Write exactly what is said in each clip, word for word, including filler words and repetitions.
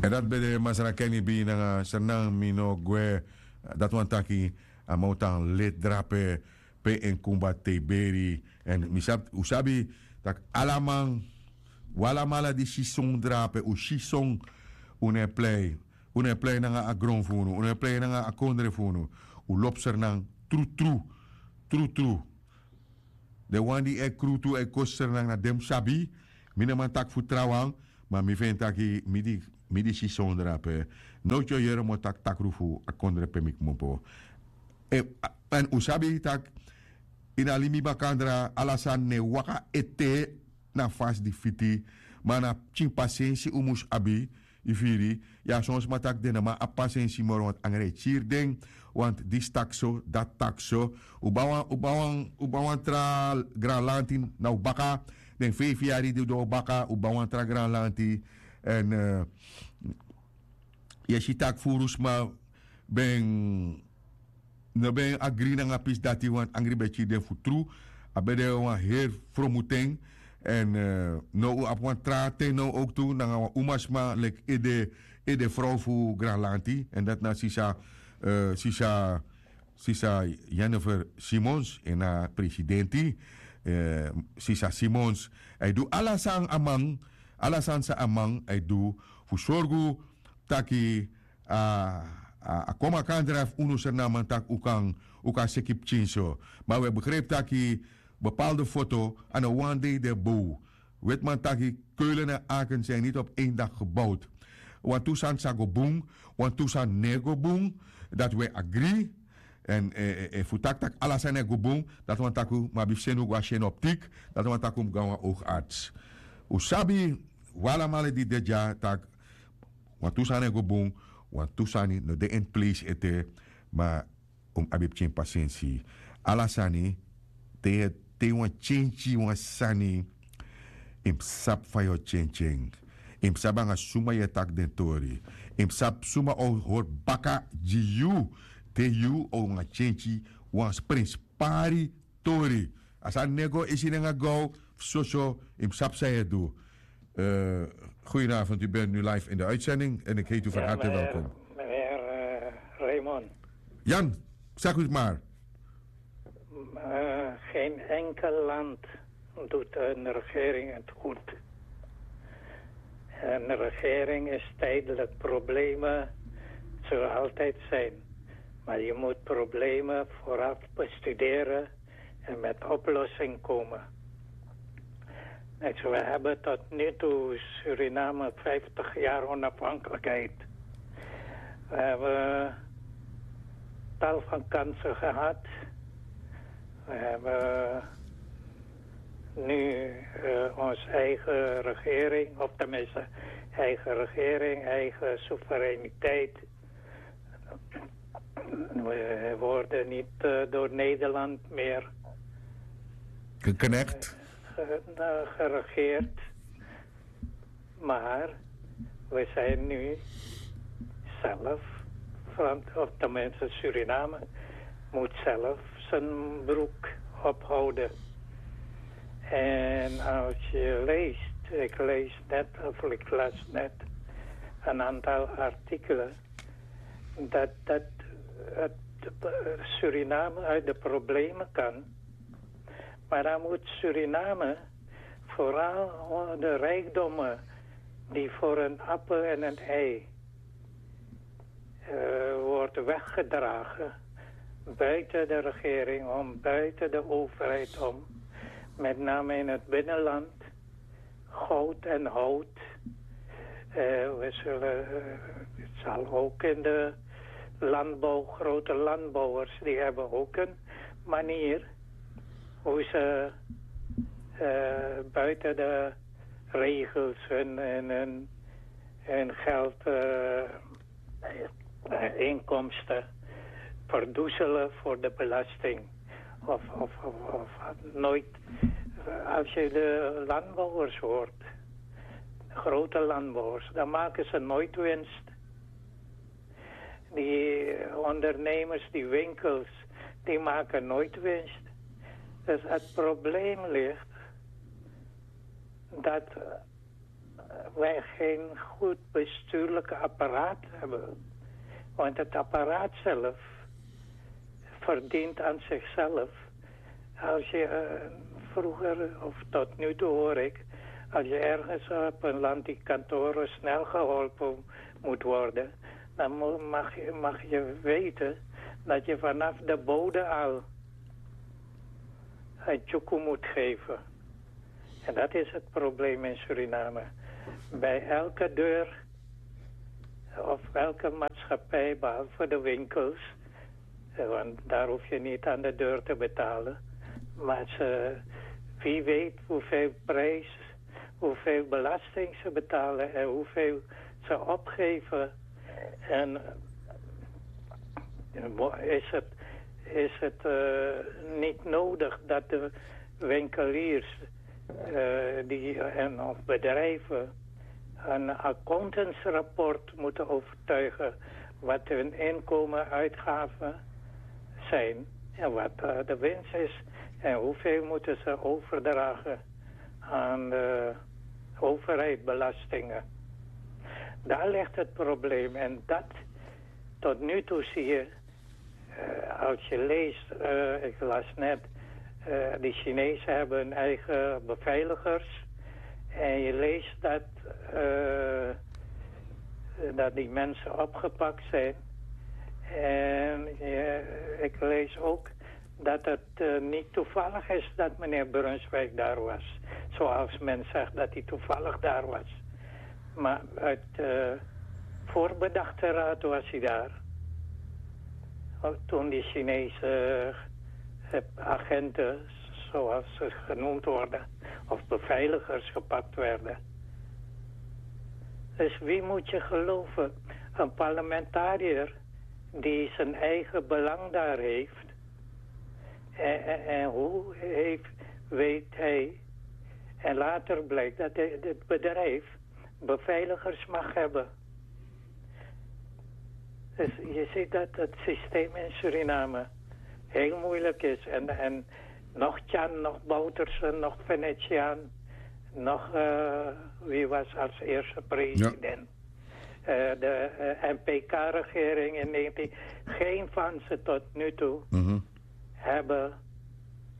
Dati ben de Masra Kenny B nanga Sernang mi no gwe. Dati wani taki a man o tan leti drape pe en kumba tei beri. Èn mi sabi, un sabi tak' ala man, un alamala di si son drape, un si son, un no e plei. Un no e plei nanga a gron fu unu, un no e plei nanga a kondre fu unu. Un lobi Sernang trutru, trutru. Den wan di e krutu e kosi Sernang na den mus sabi. Mi no man taki fu trawan, ma mi feni taki mi di, mi di si son drape, nowtu yu o yere mi o taki takru fu a kondre pe mi kmopo. Èn un sabi tak' ini a limi bakandra ala sani no e waka ete na fasi di fiti. Ma na pikin pasensi un mus abi. Yu firi? Ya, son sma taki den no man abi pasensi moro, want angre e kiri den. Want disi taki so, dati taki so. Un ban wan, un ban wan, un ban wan tra granlanti na un baka. Den feifi yari di un doro baka, un ban wan tra granlanti. Èn yu e si tak' furu sma ben no ben agri nanga pisi dati, want angri ben kiri den fu tru. A ben de wan heri fromu ten. Èn now un abi wan tra ten now owktu nanga wan umasma leki ede, ede frow fu granlanti, èn dati na sisa, sisa, sisa Jennifer Simons, en na presidenti. Sisa Simons, a e du ala san a man, ala san san a man a e du fu sorgu taki a, a, a kon makandra fu unu Sernanman taki un kan, un kan seki pikin so. Ma un e begrijpi taki bepaalde foto a no wan dei de bow. Wetiman taki Keulen en Aken zijn niet op één dag gebouwd. Wantu sani sa go bun, wantu sani no e go bun. Dati un e agri. Èn efu un taki tak' ala sani e go bun, dati wani taki un mus abi fu seni un go na seni optik. Dati wani taki un mus go na wan oogarts. Un sabi, un alamala di de dya, tak' wantu sani e go bun, wantu sani no de ini pleisi ete. Ma un mus abi pikin pasensi. Ala sani, te, te yu wani kenki wan sani, yu mus sabi fa yu o kenki en. Yu mus sabi nanga suma yu e taki den tori. Yu mus sabi suma o hori baka gi yu, te yu o wani kenki wan prenspari tori. A sani no e go isi nanga gaw. Fu soso yu mus sabi san yu e du. Goedenavond, u bent nu live in de uitzending en ik heet u van harte welkom. Meneer Raymond. Jan, zeg u het maar. Geen enkel land doet een regering het goed. Een regering is tijdelijk. Problemen zullen altijd zijn. Maar je moet problemen vooraf bestuderen en met oplossing komen. Kijk, we hebben tot nu toe Suriname vijftig jaar onafhankelijkheid. We hebben tal van kansen gehad. We hebben nu uh, onze eigen regering, of tenminste eigen regering, eigen soevereiniteit. We worden niet uh, door Nederland meer geknecht, uh, geregeerd. Maar we zijn nu zelf, of tenminste Suriname, moet zelf zijn broek ophouden. En als je leest, ik lees net, of ik las net, een aantal artikelen, dat, dat het, Suriname uit de problemen kan. Maar dan moet Suriname vooral de rijkdommen die voor een appel en een ei uh, wordt weggedragen buiten de regering om, buiten de overheid om, met name in het binnenland, goud en hout. Uh, we zullen, uh, het zal ook in de landbouw, grote landbouwers, die hebben ook een manier hoe ze uh, buiten de regels hun, hun, hun, hun geld, uh, inkomsten verdoezelen voor de belasting. Of, of, of, of nooit. Als je de landbouwers hoort, grote landbouwers, dan maken ze nooit winst. Die ondernemers, die winkels, die maken nooit winst. Dus het probleem ligt dat wij geen goed bestuurlijk apparaat hebben. Want het apparaat zelf verdient aan zichzelf. Als je eh, vroeger, of tot nu toe hoor ik, als je ergens op een land die kantoren snel geholpen moet worden, dan mo- mag, je- mag je weten dat je vanaf de bode al een tjoekoe moet geven. En dat is het probleem in Suriname. Bij elke deur of elke maatschappij, behalve de winkels, eh, want daar hoef je niet aan de deur te betalen. Maar ze, wie weet hoeveel prijs, hoeveel belasting ze betalen en hoeveel ze opgeven. En eh, is het, is het eh, niet nodig dat de winkeliers eh, die, en of bedrijven een accountantsrapport moeten overtuigen wat hun inkomen, uitgaven zijn en wat eh, de winst is en hoeveel moeten ze overdragen aan de overheid, belastingen. Daar ligt het probleem en dat tot nu toe zie je, eh, als je leest, eh, ik las net, eh, die Chinezen hebben hun eigen beveiligers. En je leest dat, eh, dat die mensen opgepakt zijn. En je- ik lees ook dat het eh, niet toevallig is dat meneer Brunswijk daar was. Zoals men zegt dat hij toevallig daar was. Maar uit eh, voorbedachte raad was hij daar. Ook toen die Chinese eh, agenten, zoals ze genoemd worden, of beveiligers gepakt werden. Dus wie moet je geloven? Een parlementariër die zijn eigen belang daar heeft. En, en, en hoe heeft, weet hij. En later blijkt dat hij- het bedrijf beveiligers mag hebben. Dus je ziet dat het systeem in Suriname heel moeilijk is. En, en nog Tjan, nog Boutersen, nog Venetiaan, nog eh, wie was als eerste president. Eh, de eh, N P K-regering in negentien. Geen van ze tot nu toe hebben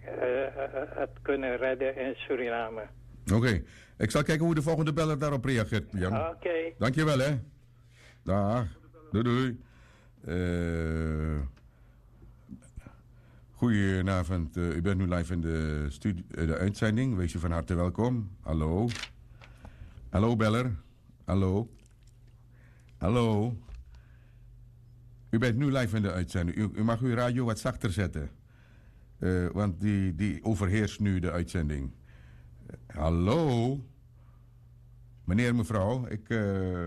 eh, eh, het kunnen redden in Suriname. Oké, ik zal kijken hoe de volgende beller daarop reageert, Jan. Oké. Dankjewel, hè. Dag. Doei, doei. Eh, goedenavond, eh, u bent nu live in de, studio, eh, de uitzending. Wees u van harte welkom. Hallo. Hallo, beller. Hallo. Hallo. U bent nu live in de uitzending. U, u mag uw radio wat zachter zetten. Eh, want die, die overheerst nu de uitzending. Hallo. Meneer, mevrouw, ik, eh,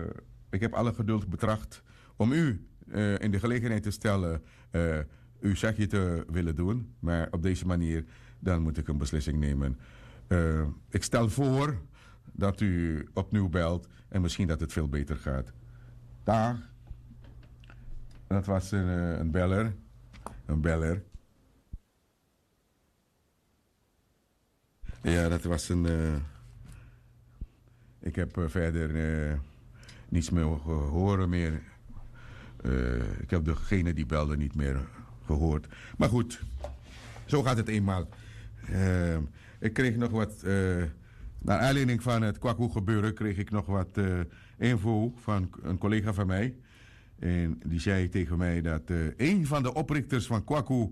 ik heb alle geduld betracht om u eh, in de gelegenheid te stellen eh, uw zegje te willen doen. Maar op deze manier, dan moet ik een beslissing nemen. Eh, ik stel voor dat u opnieuw belt en misschien dat het veel beter gaat. Dag. Dat was een, eh, een beller. Een beller. Ja, dat was een. Eh, ik heb eh, verder eh, niets meer ge- horen meer. Eh, ik heb degene die belde niet meer gehoord. Maar goed, zo gaat het eenmaal. Eh, ik kreeg nog wat. Eh, naar aanleiding van het Kwaku gebeuren kreeg ik nog wat eh, info van een collega van mij. En die zei tegen mij dat eh, een van de oprichters van Kwaku,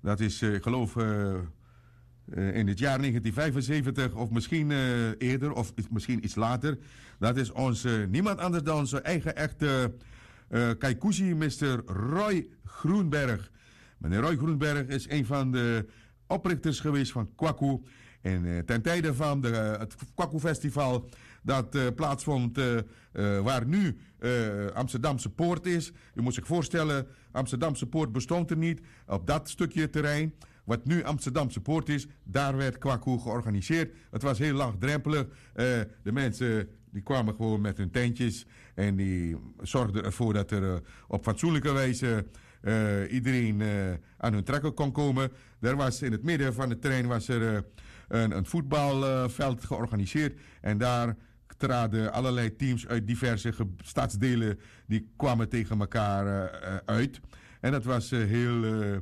dat is, eh, ik geloof, eh, eh, in het jaar negentien vijfenzeventig of misschien eh, eerder of is- misschien iets later. Dat is onze, niemand anders dan onze eigen echte eh Kaikuzi, mister Roy Groenberg. Meneer Roy Groenberg is een van de oprichters geweest van Kwaku. En eh, ten tijde van de, eh, het Kwaku Festival dat eh, plaatsvond eh, eh, waar nu eh, Amsterdamse Poort is. U moet zich voorstellen, Amsterdamse Poort bestond er niet. Op dat stukje terrein wat nu Amsterdamse Poort is, daar werd Kwaku georganiseerd. Het was heel laagdrempelig. Eh, de mensen die kwamen gewoon met hun tentjes en die zorgden ervoor dat er eh, op fatsoenlijke wijze eh, iedereen eh, aan hun trekken kon komen. Er was in het midden van het terrein was er eh, een, een voetbalveld georganiseerd en daar traden allerlei teams uit diverse ge- stadsdelen, die kwamen tegen elkaar eh, eh, uit. En dat was eh, heel, eh,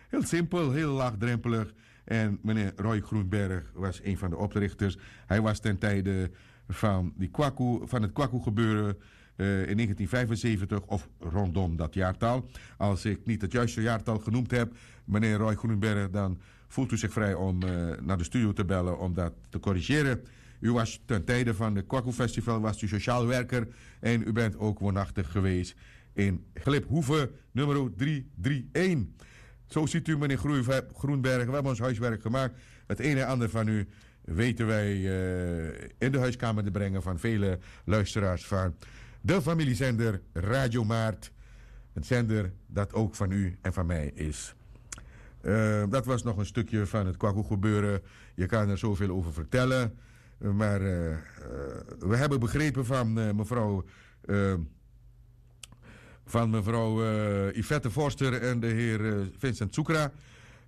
heel simpel, heel laagdrempelig. En meneer Roy Groenberg was een van de oprichters. Hij was ten tijde van, die Kwaku, van het Kwaku-gebeuren eh, in negentien vijfenzeventig of rondom dat jaartal. Als ik niet het juiste jaartal genoemd heb, meneer Roy Groenberg, dan voelt u zich vrij om eh, naar de studio te bellen om dat te corrigeren. U was ten tijde van het Kwaku Festival was u sociaal werker en u bent ook woonachtig geweest in Gliphoeve nummer drie drie één. Zo ziet u, meneer Groei- Groenberg, we hebben ons huiswerk gemaakt. Het een en ander van u weten wij eh, in de huiskamer te brengen van vele luisteraars van de familiezender Radio Maart. Een zender dat ook van u en van mij is. Eh, dat was nog een stukje van het Kwaku-gebeuren. Je kan er zoveel over vertellen. Maar eh, eh, we hebben begrepen van eh, mevrouw, eh, van mevrouw eh, Yvette Forster en de heer eh, Vincent Soekra.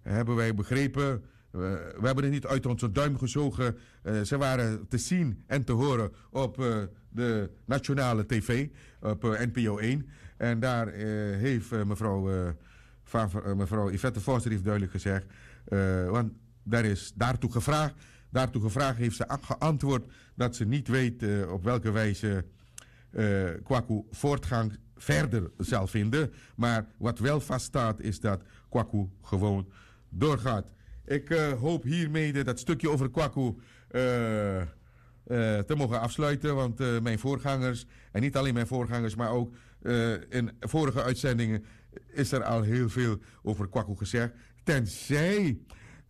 Hebben wij begrepen. Eh, we hebben het niet uit onze duim gezogen. Eh, ze waren te zien en te horen op eh, de nationale tv, op eh, N P O één. En daar eh, heeft eh, mevrouw, eh, Fa- eh, mevrouw Yvette Forster heeft duidelijk gezegd, eh, want daar is daartoe gevraagd. Daartoe gevraagd heeft ze a- geantwoord dat ze niet weet eh, op welke wijze eh, Kwaku voortgang verder zal vinden. Maar wat wel vaststaat is dat Kwaku gewoon doorgaat. Ik eh, hoop hiermede dat stukje over Kwaku eh, eh, te mogen afsluiten. Want eh, mijn voorgangers, en niet alleen mijn voorgangers, maar ook eh, in vorige uitzendingen is er al heel veel over Kwaku gezegd. Tenzij,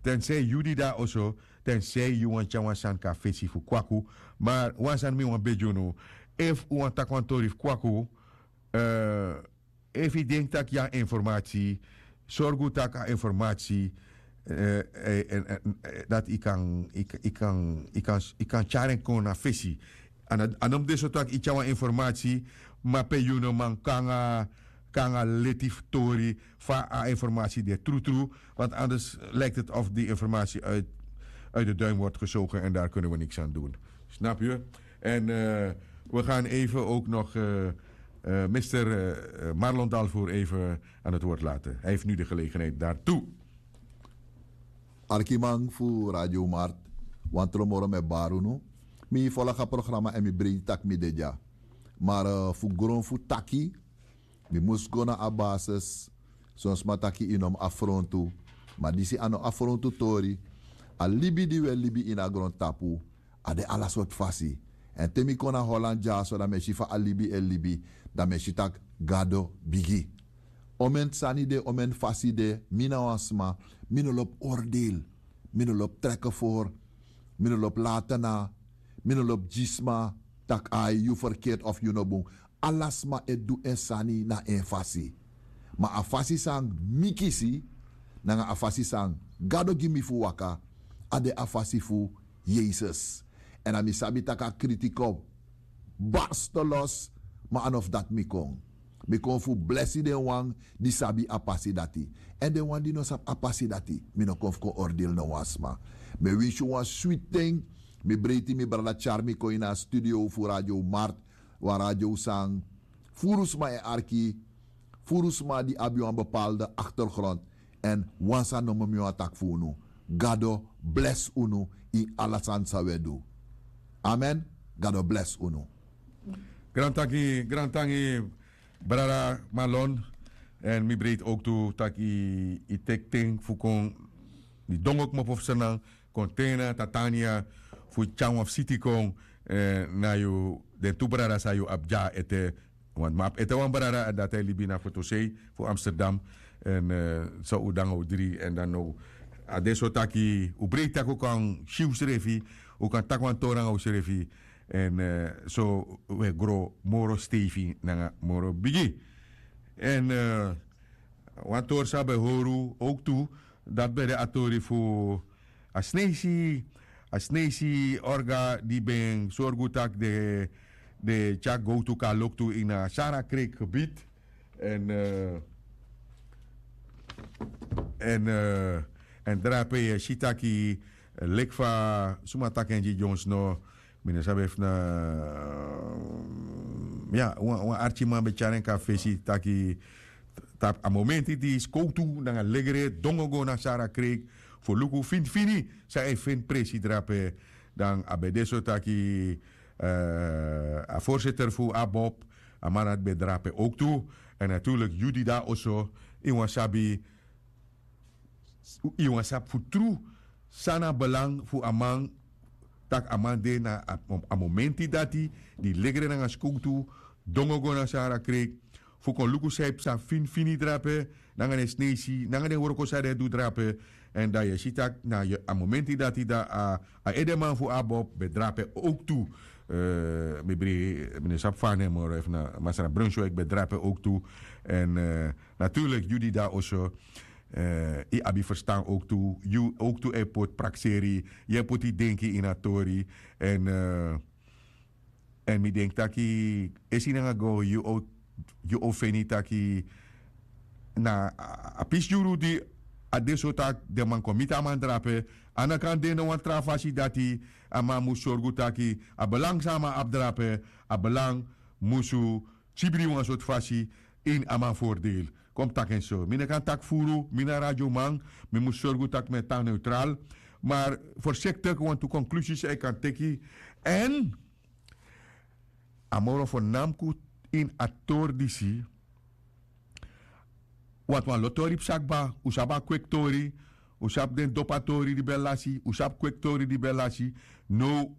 tenzij yu di dati oso, tenzij yu wani tyari wan sani kon na fesi fu Kwaku. Maar wan sani mi wani begi unu, efu un wani taki wan tori fu Kwaku, eh, efu yu denki tak' yu abi informatie, sorgu tak' a informatie eh, eh, en- en- eh, dati yu kan yu kan- yu kan- yu kan- yu kan tyari en kon na fesi. A no- a no mus de so tak' yu tyari wan informatie, ma pe yu no man kon nanga kon nanga leti fu tori fa a informatie de trutru. Want anders lijkt het of die informatie uit, uit de duim wordt gezogen en daar kunnen we niks aan doen. Snap je? En eh, we gaan even ook nog eh, eh, mister eh, Marlon Dalvoer even aan het woord laten. Hij heeft nu de gelegenheid daartoe. Arkiman fu Radio Mart, wan tron moro mi e bari unu. Mi folga programa èn mi breiti tak' mi de dya. Ma eh, fu gron fu taki, mi mus go na a basis. Son sma taki yu no mus afrontu. Ma disi a no afrontu tori. A libi di wi e libi ini a grontapu, a de ala sortu fasi. Èn te mi kon na Holland dyaso, dan mi e si fa a libi e libi. Dan mi e si tak' Gado bigi. Omeni sani de, omeni fasi de, mi na wan sma, mi no lobi oordeel, mi no lobi treke for, mi no lobi laten na, mi no lobi gi sma tak' ai, yu ferkert of yu no bun. Ala sma e du en sani na en fasi. Ma a fasi san mi kisi, nanga a fasi san Gado gi mi fu waka, a de a fasi fu Yesus. Èn a mi sabi tak' a kriti kon barste los, ma a no fu dati mi kon. Mi kon fu blesi den wan di sabi a pasi dati. Èn den wan di no sabi a pasi dati, mi no kon fu kon oordeel no wan sma. Mi e winsi wan switi ten. Mi breiti mi brada tyari mi kon ini a studio fu Radio Mart, wan radio san furu sma e arki, furu sma di abi wan bepaalde achtergrond. Èn wan sani nomo mi wani taki fu unu: Gado blesi unu ini ala sani san wi e du. Amen. Gado blesi unu. Grantangi, grantangi, brada Marlon. Èn mi breiti ook tu taki yu teki ten fu kon, yu dongo kmopo fu Sranan, kon te na Tatania, fu tyari wan visiti kon eh, na yu, den tu brada san yu abi dya ete. Want mi abi ete wan brada, dati e libi na Fotosei fu Amsterdam. Èn eh, so un de nanga un dri. Èn dan now a de so taki un breiti tak' un kan si unsrefi, un kan taki wan tori nanga unsrefi. Èn eh, so un e gro moro steifi nanga moro bigi. Èn eh, wan tori san ben hori un ook tu, dati ben de a tori fu a Sneisi, a Sneisi orga di ben sorgu tak' den, den tyari gowtu kon na loktu ini a Sara Kreek gebied. Èn eh, èn eh, èn drape yu e si taki, eh, leki fa suma taki en gi dyonsno, Mi no sabi efu na ya wan arkiman ben tyari en kon na fesi taki tapu a momenti di skowtu nanga legre dongo go na sara kreik fu luku finifini san e feni presi drape. Dan a ben de so taki a voorzitter fu abob a man dati ben drape owktu. En natuurlik yu di de na oso yu wani sabi yu wani sabi fu tru san na belang fu a man tak' a man de na a momenti dati di legre nanga skowtu dongo go na sara kreik fu kon luku san e psa finifini drape nanga den sneisi nanga den wroko san den e du drape. Èn dan yu e si tak' na a momenti dati dan a edeman fu abob ben drape owktu. Mi bribi mi no sabi fa a nen moro efu na masra brunswik ben drape owktu. Èn natuurlik yu di de na oso yu abi ferstan owktu yu owktu e poti prakseri yu e poti denki ini a tori. Èn èn mi denki taki esi nanga go yu o feni taki na a pisi yuru di a de so taki den man kon miti a man drape a no kan de na wan tra fasi dati a man mus sorgu taki a belang san a man abi drape a belang musu kibri wan sortu fasi ini a man fordeel. Kon mi taki en so mi no kan taki furu mi na radioman mi mus sorgu tak' mi e tan neutral. Maar voorzichtig wantu konklusi san yu kan teki èn a moro fo namku ini a tori disi. Wantu wan lo tori psa kba un sabi a kweki tori un sabi den dopu a tori di ben lasi un sabi kweki tori di ben lasi. Now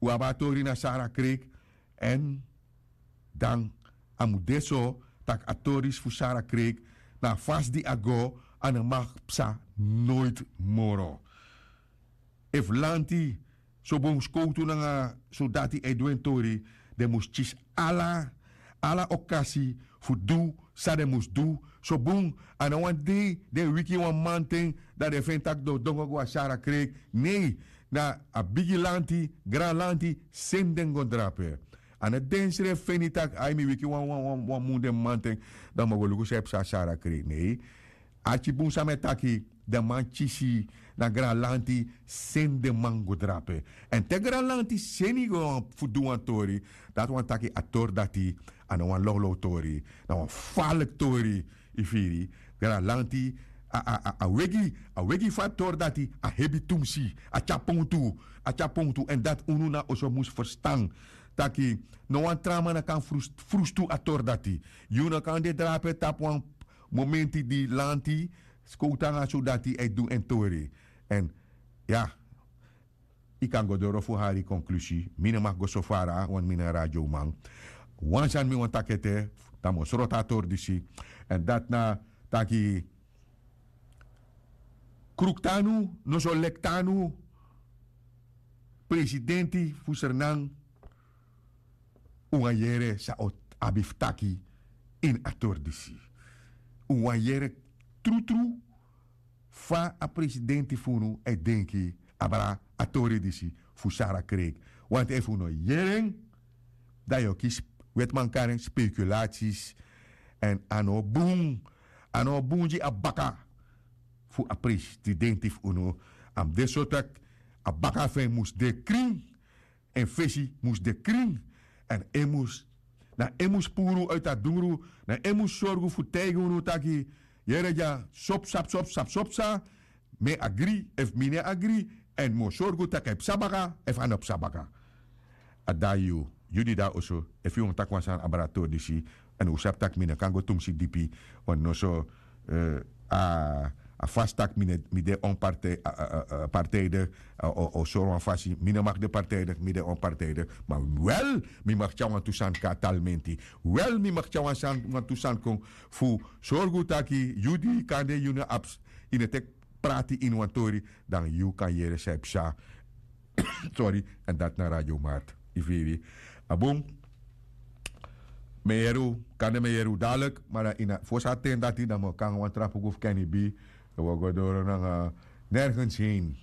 un abi a tori na sara kreik èn dan a mus de so tak' a tori disi fu sara kreik na a fasi di a go a no mag psa noiti moro. Efu lanti sobun skowtu nanga sodati e du en tori den mus kisi ala ala okasi fu du san den mus du. Sobun a no wani dei den wiki wan manten dan den feni tak' den o dongo go na sara kreik. Nei na a bigi lanti gran lanti seni den go drape. A no den srefi feni tak' ai mi wiki wan wan wan mun den manten dan mi o go luku san e psa na sara kreik nei. Arki bun san mi e taki den man kisi na granlanti seni den man go drape. Èn te granlanti seni go fu du wan tori dati wani taki a tori dati a no wan lawlaw tori na wan faliki tori. Yu firi granlanti a wegi a wegi fu a tori dati a hebi tumsi a tyapon tu a tyapon tu èn dati unu na oso mus ferstan taki no wan tra man no kan frustu a tori dati. Yu no kan de drape tapu wan momenti di lanti skowtu nanga sodati e du en tori. Èn ya yu kan go doro fu hari konklusi. Mi no maki go so fara wani mi na radioman wan sani mi wani taki ete dan mi o sroto a tori disi. Èn dati na taki kruktu anu noso lektu anu presidenti fu sernan. Un wani yere san o abi fu taki ini a tori disi. Un wani yere trutru fa a presidenti fu unu e denki abra a tori disi fu sara kreik. Wanti efu un no yere en dan yu o kisi wetiman kari en spekulatis. Èn a no bun a no bun gi a baka fu a presidenti fu unu. A mus de so tak' a baka fu en mus de krin. En fesi mus de krin èn en mus na en mus puru uiti a dungru na en mus sorgu fu taigi unu taki yere dya sopsa psopsa psopsa. Mi e agri efu mi no e agri èn mi o sorgu tak' a e psa baka efu a no psa baka. A dai yu yu di de na oso efu yu wani taki wan sani abra a tori disi. Èn un sabi tak' mi no kan go tumsi dipi wan noso a fasi tak' mi de onpartijde o sori wan fasi mi no maki de partijde mi de onpartijde. Ma wel mi maki tyari wantu sani kon na talmenti. Wel mi maki tyari wantu sani kon fu sorgu taki yu di kande yu no abi yu no teki prati ini wan tori dan yu kan yere san e psa. Sori. Èn dati na radio mart yu firi. A bun. Mi e yere un kande mi e yere un dadilik ma dan ini a fosi a ten dati dan mi o kon nanga wan tra puku fu ken ibi. Wi o go doro nanga nergens hein.